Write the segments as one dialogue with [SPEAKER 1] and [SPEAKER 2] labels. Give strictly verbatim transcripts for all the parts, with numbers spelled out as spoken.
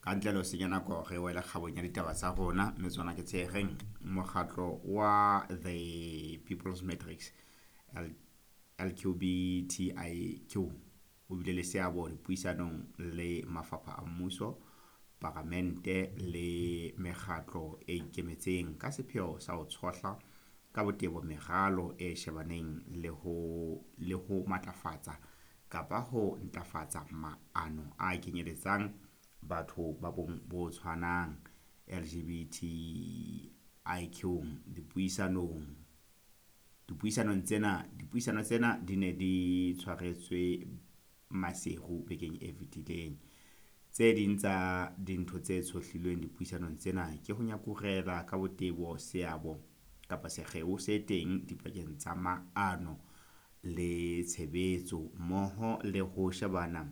[SPEAKER 1] Ka ntle le ho senya nako re wele kgabong ya ditaba tsa rona, mme tsona ke tse reng mokgatlo wa The People's Matrix L L Q B T I Q o bile le seabo dipuisanong le mafapha a mmuso, paramente le mekgatlo e ikemetseng ka sepheo sa ho tshohla ka botebo meralo e shebaneng le ho le ho matlafatsa kapa ho ntlafatsa maano a kenyeletsang batho ba bong bo tshwanang L G B T I Q. Dipuisanong dipuisanong tsena dipuisano tsena di ne di tshwaretswe Maseru bekeng e fetileng. Tse ding tsa dintho tse tshohlilweng dipuisanong tsena ke ho nyakurela ka botebo seabo kapa sekgeo se teng dipakeng tsa maano le tshebetso, mmoho le ho shebana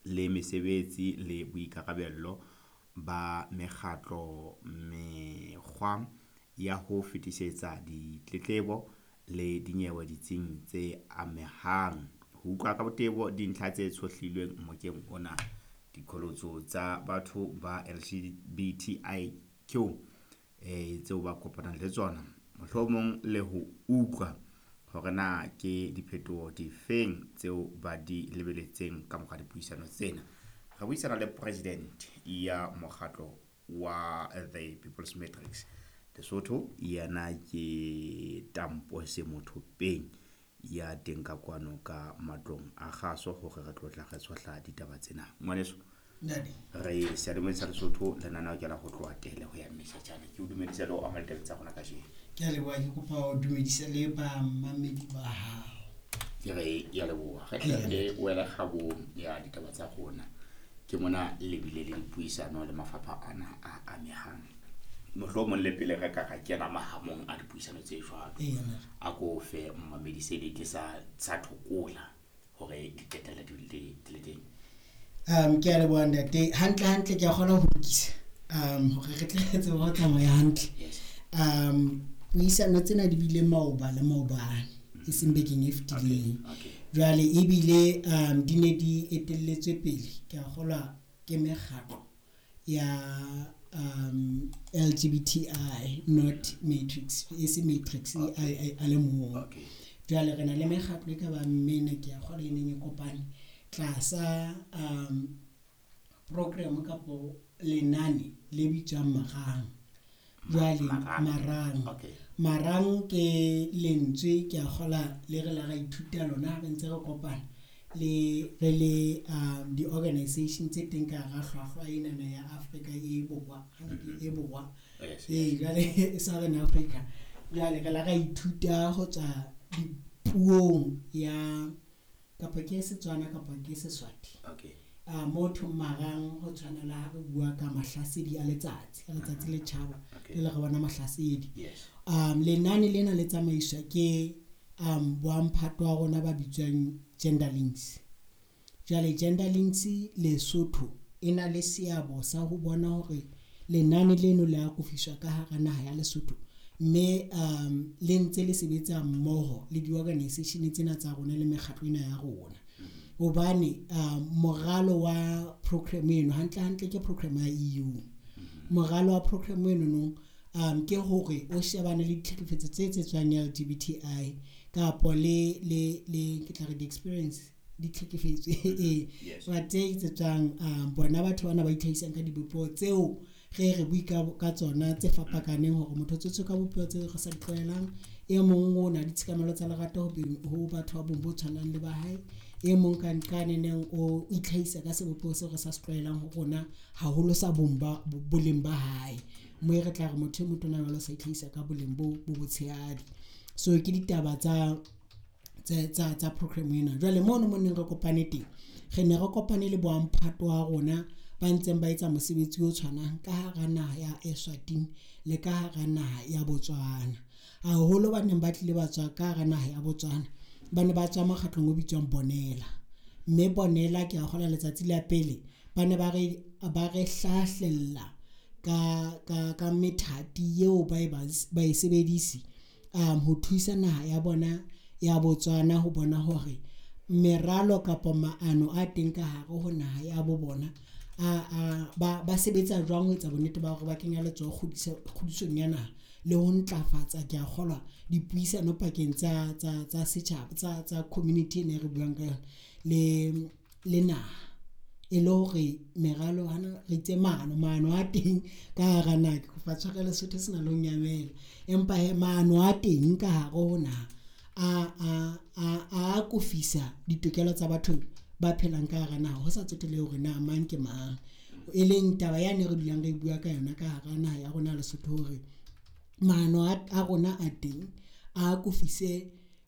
[SPEAKER 1] le mesebetsi le boikarabello ba mekgatlo, mekgwa ya ho fetisetsa ditletlebo le dinyewe ditsing tse amehang. Ho utlwa ka botebo dintlha tse tshohlilweng mokeng ona, diqholotso tsa batho ba L G B T I Q eh tseo ba kopanang le tsona, mohlomong le ho utlwa hore na ke diphetoho difeng tseo ba di lebeletseng ka mora dipuisano tsena. Re buisana le president ya mokgatlo wa The People's Matrix Lesotho, yena ke Tampo Semothopeng ya teng ka kwano ka matlong a kgaso hore re tlo tla re tshohla ditaba tsena. Ngwaneso,
[SPEAKER 2] Ntate.
[SPEAKER 1] re seyalemoyeng sa Lesotho, lenaneo ke la ho tloha tele ho ya Mešatjana. Ke o dumedisa le ho amohela ditabeng tsa rona kajeno.
[SPEAKER 2] Ke a leboha, ke kopa ho dumedisa le bamamedi ba hao.
[SPEAKER 1] Ke re ya leboha. Re tle re wele kgabong ya ditaba tsa rona. Ke mona le bile le dipuisano le mafapha ana a amehang. Mohlomong le pele re ka ra kena mahamong a dipuisano tse jwalo,
[SPEAKER 2] Eya, ntate.
[SPEAKER 1] a ko fe mmamedi se le sa sa thokola hore di qetella di le di le teng.
[SPEAKER 2] Um ke a leboha, ntate. Hantle hantle ke a kgona ho lokisa um hore re tle re tsebe ho tsamaya hantle.
[SPEAKER 1] Yes.
[SPEAKER 2] Um puisano tsena di bile maoba le maobane, e seng bekeng e fetileng.
[SPEAKER 1] Okay.
[SPEAKER 2] Jwale ebile um di ne di etelletswe pele, ke a kgolwa ke mekgatlo ya um L G B T I, not Matrix, e se Matrix a, a, a le mong.
[SPEAKER 1] Okay.
[SPEAKER 2] Jwale re na le mekgatlo e ka bang mene, ke a kgolwa, e neng e kopane tlasa um program kapo lenane le bitswang Marang. Jwale
[SPEAKER 1] Marang.
[SPEAKER 2] Marang.
[SPEAKER 1] Okay.
[SPEAKER 2] Marang ke lentswe, ke a kgola, le re la ra ithuta lona ha re ntse re kopana le re le um di-organization tse teng ka hara hlwahlwa enana ya Afrika e Borwa, e Borwa.
[SPEAKER 1] Yes.
[SPEAKER 2] Ee, jwale Southern Africa. Jwale re la ra ithuta ho tswa dipuong ya kapa ke Setswana kapa ke Seswati.
[SPEAKER 1] Okay.
[SPEAKER 2] A motho marang ho tshwana le ha re bua ka mahlasedi a letsatsi, ha letsatsi le tjhaba,
[SPEAKER 1] Okay.
[SPEAKER 2] le le re bona mahlasedi.
[SPEAKER 1] Yes.
[SPEAKER 2] um lenane lena le tsamaiswa ke um boamphato wa rona ba bitswang Gender Links. Jwale Gender Links Lesotho e na le seabo sa ho bona hore lenane leno le akofiswa ka hara naha ya Lesotho, mme um le ntse le sebetsa mmoho le di-organization tsena tsa rona le mekgatlo ena ya rona, hobane um moralo wa program eno hantle hantle ke program ya E U. Moralo wa program eno no um ke hore o shebane le ditlhekefetso tse etsetswang L G B T I kapo le le le ke tla re di-experience ditlhekefetso ee
[SPEAKER 1] Yes.
[SPEAKER 2] ba tse etsetswang um bona batho bana ba itlhahisang ka dibopeho tseo re re bue ka, ka tsona tse fapakaneng, hore motho o tswetswe ka bopeho tse re sa di tlwaelang. E mong o na le tshekamelo tsa lerato ho beng- ho batho ba bong bo tshwanang le ba hae, e mong ka nqaneneng o itlhahisa ka sebopeho seo re sa se tlwaelang ho rona haholo sa bong ba boleng ba hae, mo e re tla re motho e motona jwalo sa itlhahisa ka boleng bo bo botshehadi. So ke ditaba tsa tsa tsa tsa program ena. Jwale mono mo neng re kopane teng, re ne re kopane le boamphato wa rona ba ntseng ba etsa mosebetsi o tshwanang ka hara naha ya Eswatini le ka hara naha ya Botswana. Haholo ba neng ba tlile ba tswa ka hara naha ya Botswana, ba ne ba tswa mokgatlong o bitswang Bonela, mme Bonela, ke a kgolwa, letsatsi la pele ba ne ba re ba re hlahlella ka ka ka methati eo ba e ba e sebedise um ho thusa naha ya bona ya Botswana ho bona hore meralo kapa maano a teng ka hare ho naha ya bo bona. a a ba ba sebetsa jwang ho etsa bonnete ba hore ba kenya letsoho kgodiso kgodisong ya naha le ho ntlafatsa, ke a kgolwa, dipuisano pakeng tsa tsa tsa setjhaba tsa tsa community ena e re buang ka yona le le naha. E le hore meralo hana re itse maano maano a teng ka hara naha. Ke kopa tshwarelo Sesotho sena le ho nyamela, empa hee maano a teng ka hare ho naha a a a a akofisa ditokelo tsa batho ba phelang ka hara naha, ho sa tsotellehe hore na mang ke mang. E leng taba yane re dulang re bua ka yona ka hara naha ya rona ya Lesotho hore maano a rona a teng a akofise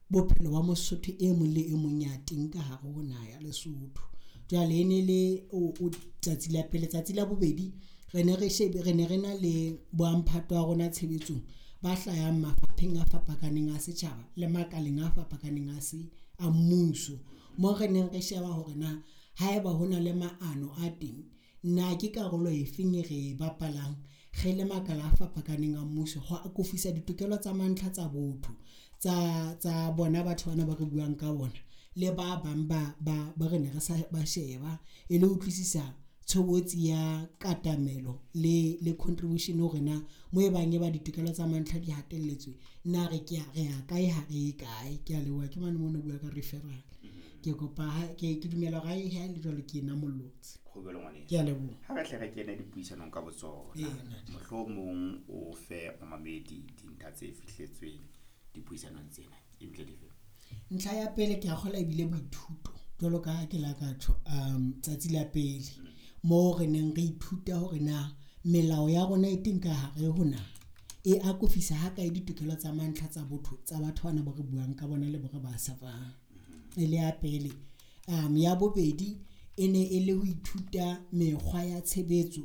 [SPEAKER 2] bophelo ba Mosotho e mong le e mong ya teng ka hare ho naha ya Lesotho. Jwale e ne le o tsatsi la pele. Tsatsi la bobedi re ne re shebe, re ne re na le bo mphato wa rona tshebetsong ba hlahang mafapheng a fapakaneng a setjhaba le makaleng a fapakaneng a se a mmuso. Moo re neng re sheba hore na haeba hona le maano a teng, na ke karolo efeng e re e bapalang re le makala a fapakaneng a mmuso ho akofisa ditokelo tsa mantlha tsa botho tsa tsa bona batho bana ba re buang ka bona le ba bang ba ba ba re ne re sa ba sheba e le utlwisisa tshobotsi ya katamelo le le contribution hore na moo e bang e ba ditokelo tsa mantlha di hatelletswe na re ke re ya kae, ha re ye kae. Ke a leboha. Ke mane moo o bua ka referral. Ke kopa ha ke ke dumela hore ha e le jwalo, ke namollotse. Ke a leboha.
[SPEAKER 1] Ha re hle re kene dipuisanong ka botsona, mohlomong o fe momamedi dintlha tse fihletsweng dipuisanong tsena ebile dife?
[SPEAKER 2] Ntlha ya pele ke a kgolwa ebile boithuto jwalo ka ha ke la ka tjho um tsatsi la pele moo re neng re ithuta hore na melao ya rona e teng ka hare ho naha e akofisa ha kae ditokelo tsa mantlha tsa botho tsa batho bana ba re buang ka bona le bo re ba serve-ang. E le ya pele. Um ya bobedi e ne e le ho ithuta mekgwa ya tshebetso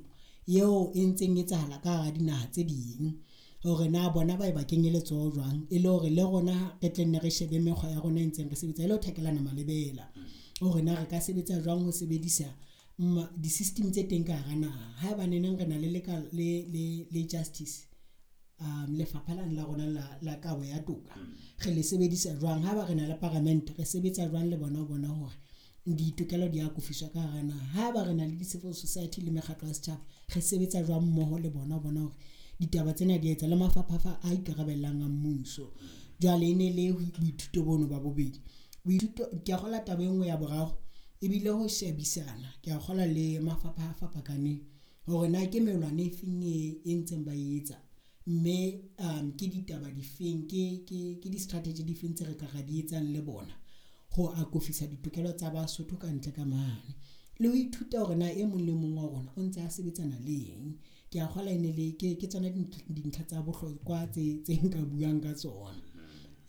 [SPEAKER 2] eo e ntseng etsahala ka hara dinaha tse ding hore na bona ba e ba kenye letsoho jwang, e le hore le rona re tle nne re shebe mekgwa ya rona e ntseng re sebetsa e le ho thakelana malebela hore na re ka sebetsa jwang ho sebedisa di-system tse teng ka hara naha. Haeba neneng re na le le le le justice um lefapha lane la rona la la kabo ya toka re le sebedisa jwang. Haeba re na le paramente re sebetsa jwang le bona ho bona hore ditokelo di akofiswa ka hara naha. Haeba re na le di-civil society le mekgatlo ya setjhaba re sebetsa jwang mmoho le bona ho bona hore ditaba tsena di etsa le mafapha a ikarabellang a mmuso. Jwale e ne le boithuto bono ba bobedi. Boithuto ke a kgolwa taba e nngwe ya boraro ebile ho shebisana ke a kgolwa le mafapha a fapakaneng hore na ke melwane e feng e e ntseng ba e etsa, mme um ke ditaba difeng ke ke ke di-strategy difeng tse re ka ra di etsang le bona ho akofisa ditokelo tsa Basotho ka ntle ka mane. Le ho ithuta hore na e mong le mong wa rona o ntse a sebetsana le eng. Ke a kgolwa e ne le ke ke tsona dintlha tsa bohlokwa tse tse nka buang ka tsona.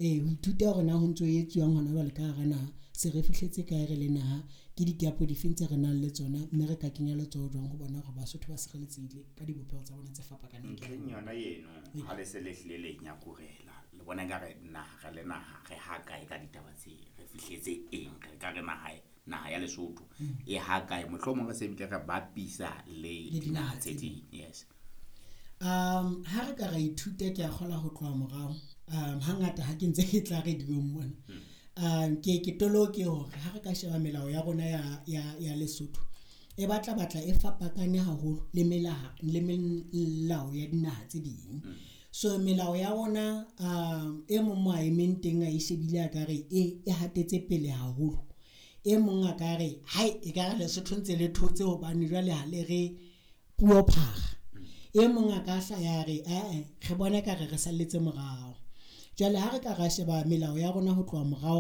[SPEAKER 2] Ee, ho ithuta hore na ho ntso etsuwang hona jwale ka hara naha, se re fihletse kae re le naha, ke di-gap difeng tse re nang le tsona, mme re ka kenya letsoho jwang ho bona hore Basotho ba sireletsehile ka dibopeho tsa bona tse fapakaneng.
[SPEAKER 1] Ntlheng yona eno ha le se le hlile le nyakurela le bona ekare naha re le naha re ha kae ka ditaba tse, re fihletse eng, re ka re naha naha ya Lesotho e ha kae, mohlomong re se bile re bapisa le dinaha tse ding. Yes.
[SPEAKER 2] Um ha re ka ra ithuta ke a kgolwa ho tloha morao um hangata ha ke ntse ke tla radio-ong mona um ke ke toloke hore ha re ka sheba melao ya rona ya ya ya Lesotho e batla batla e fapakane haholo le melaha le melao ya dinaha tse ding. So melao ya rona um e mong mo a emeng teng a e shebile a ka re e e hatetse pele haholo. E mong a ka re hai e ka re Lesotho ntse le thotse hobane jwale ha le re puo phara. E mong a ka hlaya re ae re bona ka re re salletse morao. Jwale ha re ka ra sheba melao ya rona ho tloha morao